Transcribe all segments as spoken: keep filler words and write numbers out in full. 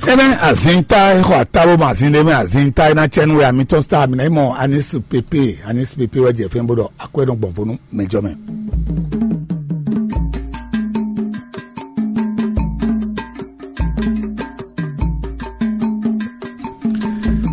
Eme azinta e xɔ atabo ma azin ɖe mɛ azinta e na cɛ nu wɛ amitɔn sta mi na yi mɔ anis pepe anis pepe wɛ jɛ fɛn bo ɖɔ akwɛ nɔ gbɔn vo nú mɛjɔ mɛ.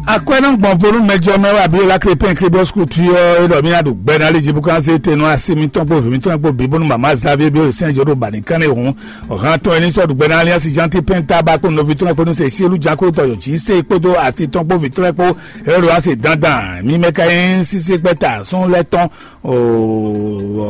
Akwɛ nɔ gbɔn vo nú mɛjɔ mɛ wɛ abi la kle pɛn kle bɔ sukutu yɔ e ɖɔ mi na ɖu gbɛ na li jibu kan se te nɔ asi mitɔn kpo vi mitɔn kpo bi bónú mama Xavier bi o sɛn jo ɖo ba ni kan ne hun. Hàn tɔn ẹni sɔ́ dùgbẹ́ náà ní asi janti pɛnta bá kpó nɔví tɔn kpó ní se sílu jako tɔ yǒ jí se kpódó asi tɔn kpó vǐ tɔn kpó. Èrò asi dandan mi mɛ ka nyí sísí kpɛ́ta sún lɛ́ tɔn.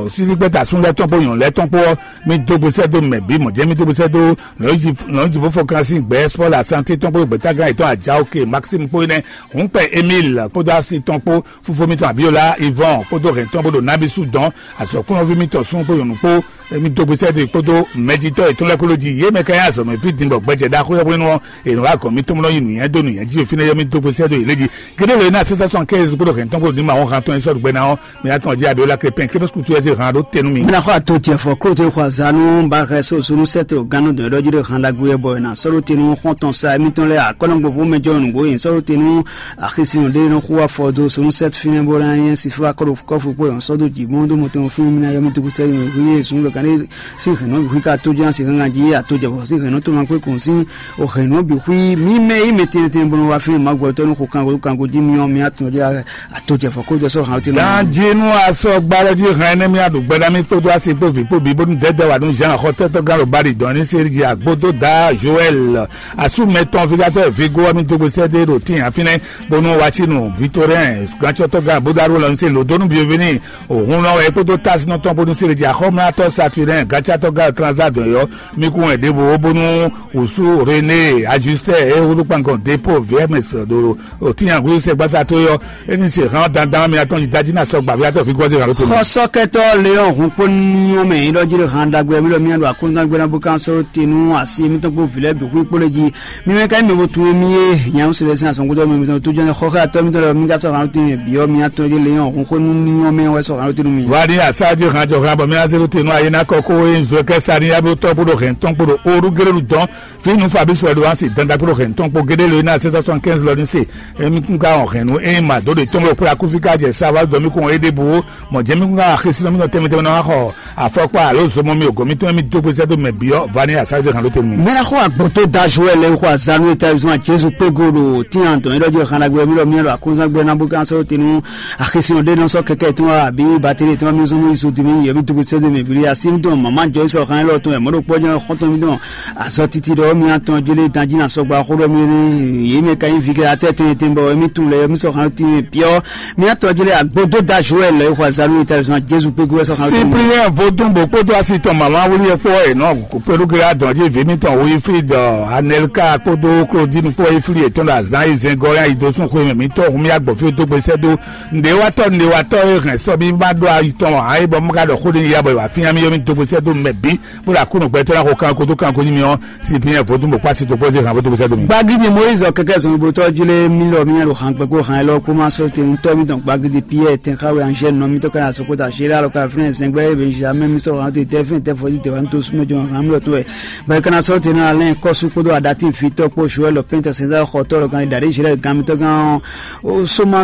Sísí kpɛ́ta sún lɛ́ tɔn kpó nyɔ̌nu lɛ́ tɔn kpó ɔ́, mi dó gbèsè dó mɛ bí mɔ̌ jẹ́ mi dó gbèsè dó lɔ̌nyijibó fɔkàn sín gbɛ́ spɔ́ la santé tɔn kpó gbɛ́tágán yětɔn ajá òkè maxime kpó énɛ́. Hǔn kpɛ emile kpódó asi tɔn kpó fúnfó mitɔn abíyolá ivɔn kpódó hɛn tɔn bó ɖo nábísú dɔn azɔ̌kúnɔví mitɔn sún kpó nyɔ̌nu kpó. Emi dó gbèsè dó kpódó mɛjitɔ́ yětɔn lɛ́ɛ kpó ló jí yě mɛ ka nyí azɔ̌mɛví din bɔ gbɛjɛ ɖaxó yɔ́ hwenu ɔ́, è nɔ wá gɔ̌n mitɔn nɔ yi nǔnywɛ́ dó nǔnywɛ́ jí fínɛ́ yɔ́ mì dó gbèsè dó yě lé jí. Gédé lě ná sɛ́sɛ́ sɔn kɛ́ ezikúɖo hɛn tɔn kpó ní ma wɔn han tɔn e sɔ́ ɖo gbɛ ná ɔ́, mɛ atɔn jí abiola kepɛn kébé kutu ɛzé han ɖó tenu mì. Mina xɔ ato jɛ fɔ kúrò tɛ xɔ azanu ba xɛ so sunu sɛtɛ o ganu dɔn ɛɖɔ jí ɖo han ɖagbe bɔ na sɔɖo tenu xɔn tɔn sa mitɔn lɛ akɔnɔ gbogbo mɛ jɔ nugbo yin sɔɖo tenu axisi ɖe nɔ xu afɔ do sunu sɛtɛ finɛ bɔ na yɛn si fɔ akɔɖo kɔfu kpɔ yɔn sɔdo ji mɔ do mɔtɔn fún mina yɔmi tugu sɛ yɔn hu ye sun lɔ kan ne si hɛnɔ hu ka to jan si gangan ji ato jɛ fɔ si hɛnɔ to ma kwe kun si o hɛnɔ bi hui mi mɛ yi mɛ tɛnɛ tɛnɛ bɔ wa fún ma gbɔ tɔnu ko kanko kanko ji mi yɔn mi atun jɛ ato jɛ fɔ kó jɛ sɔrɔ hàn tɛnɛ. Danjinu asɔ gbalɔ ji hàn ɛnɛ mi aɖu gbɛdami kpódó asi kpó vi kpó bi bónú dɛdɛ wa nú Jean xɔtɛtɔ galo bali dɔn ní seri ji agbodo da Joël asu mɛtɔn vigatɔ vigo wa mi dogbe sɛde ɖo tin afinɛ bónú watsi nu Victorin gatsɔtɔ ga bódó arúgbó lɔ ní se lòdónú bienveni òhun nɔ wɛ kpódó tasinɔ tɔn bónú seri ji axɔmlátɔ Saturnin gatsatɔ ga transa dɔn yɔ mi kún wɛ ɖěvo bónú wòsú René ajustɛ e wúlú kpangɔn depo vms ɖo òtínyàgúlú sɛgbásá tó yɔ. Éní se hán dandan mi atɔn jí dájí ná sɔ gbàví atɔ fi gɔzé hàn ló tó. Xɔsɔkɛtɔ Leon hun kpó niyɔn mɛ yín ɖɔ jí ɖo hàn dagbe mi ɖɔ mi ɖo akóńtɔn gbéná bó kán sɔ́ tenu asi mi tɔn kpó vilɛ bǐ hu kpó lé jí. Mi mɛ ka mi bo tun mi ye nyam se lɛ sin asɔn kúndɔ mi tɔn tó jɔn xɔxɛ atɔ mi tɔn lɛ mi ka sɔ hàn ló tin biɔ mi atɔn jí Leon hun kpó niyɔn mɛ wɛ sɔ hàn ló tenu mi. Wari asaji hàn jɔ hàn bɔ mi azelu tenu ayé ná kɔ kó e nzɔ kɛ sani ablo tɔ bó ɖo hɛn tɔn kpó ɖo oru géré ɖu dɔn. Fínú Fabrice Edouard sì dandan kúrò hɛn tɔn kpó gédé lóyún náà six cent soixante-quinze lɔ ní se. Emi kún ká hɔn hɛn nú emi mà dó ɖe tɔn ló kpla kúfí ká jɛ sáwá dɔmí kún é ɖěbǔ. Mɔ jɛmí kún ká xisí nɔmí nɔ tɛnmɛ tɛnmɛ nɔ wá xɔ afɔkpa alo zomɔ mi ògɔn mi tɔn mi dó gbèsè dó mɛ biɔ va ní asáze hàn ló tɛnmɛ. Mɛra xɔ agbɔtɔ da Joël lɛ xɔ azanu eta zɔn Jesu pego ɖo tiyan tɔn yɛrɛ jɔ xana gbɛ mi lɔ mi lɔ akunzan gbɛ na bó kan sɔ tenu axisiɔn ɖe nɔ sɔ kɛkɛ tɔn abi bateri tɔn mi zɔn mi so dimi yɛ mi dó gbèsè dó mɛ bili asi mi tɔn mama jɔ sɔ xan lɔ tɔn yɛ mɔɖo kpɔjɔ xɔtɔn mi tɔn azɔ titi ɖɔ mi atɔn jele danji na sɔgba xo ɖɔ mi ne yi me ka yi vi ke atɛ tɛn tɛn bɔ mi tun le mi sɔ xan ti piɔ mi atɔn jele agbodo da Joël le xɔ azanu eta zɔn Jesu pe gu sɔ xan. Cyprien vodun bo kpódó asi tɔn mama wuli ekpó enɔ kpéɖu ge adɔn ji vi mi tɔn wo ifi dɔ Anelka kpódó Claudine kpó ifili etɔn ɖo azan yi zɛngɔ ya yi do sun xwe mɛ mi tɔ hun mi agbɔ fi do gbesɛ do nɖe wa tɔ nɖe wa tɔ e hɛn sɔ mi ma ɖo ayi tɔn ayi bɔ mu ka ɖɔ xó ɖe ya bɔ wa fi mi yɔ mi do gbesɛ do mɛ bi. Bó la kúnnù gbɛtɔ́ la ko kan ko tó kan ko nyí mi ɔ́, si bí yẹn vodún bò kpá si tó kpɔ́ zé hàn vodún bó sɛ domi. Gbagidi Moyiz ɔ kɛkɛ zɔn gbotɔ jlé mi lɔ mi yɛn ɖo hàn gbɛgbó hàn lɔ kpó ma sɔ te ŋutɔ mi dɔn gbagidi Pierre tɛn xawe anjɛ nɔ mi tɔ kan asɔ kota Gérard lɔ ka fínɛ zɛngbɛ Benjamin mi sɔ hàn te tɛ fɛn tɛ fɔ yi tɛ wa mi to sumɛ jɔ hàn mi lɔ to wɛ bɛrɛ kana sɔ te na alɛ kɔsu kpódó adati vitɔ kpó Joël pɛntɛ sɛnzɛ xɔtɔ lɔ kan dade Gérard gan mi tɔ gan o soma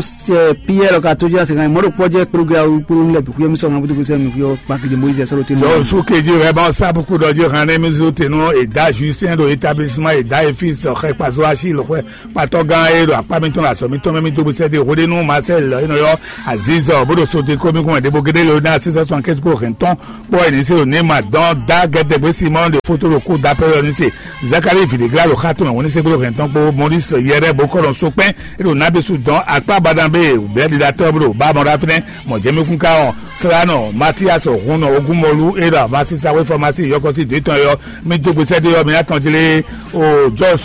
Pierre lɔ ka to jɛ se kan mɔɖo kpɔjɛ kpódó gira kpódó lɛ bi kuyɛ mi sɔ hàn butu sɛ mi kuyɔ gbagidi Moyiz sɔ te nɔ. Jɔ su keji rɛ ban sabu kudɔ ji hàn ne mi zu te nɔ eda juisɛn ɖo établissement eda efis xɛ kpazo asi lɔxɔɛ kpatɔ gã e ɖo akpa mitɔn le azɔ mitɔn mɛ mi do sɛ de hode nu Marcel enɔ yɔ Aziz bó ɖo so de komi kɔn ɖebo gede le na six cent soixante-quinze kó hɛn tɔn kpɔ eni se ɖo Neymar dɔn da gɛdɛgbɛ Simon de foto ɖo kó da pɛ yɔ ni se Zakari Vidigra ɖo xa tɔn mɛ wɔ ni se kó hɛn tɔn kpó Maurice Yɛrɛ bó kɔ ɖɔ so kpɛn e ɖo nabi su dɔn akpa badan be bɛɛ ɖi da tɔ bó ɖo ba mɔ ɖa fínɛ mɔ jɛmi kún ka ɔ sranɔ Matias Hun nɔ ogun mɔlu e ɖo avasi sawe fɔmasi yɔkɔsi de tɔn yɔ mi do gbèsè de yɔ mi atɔn jlé o jɔ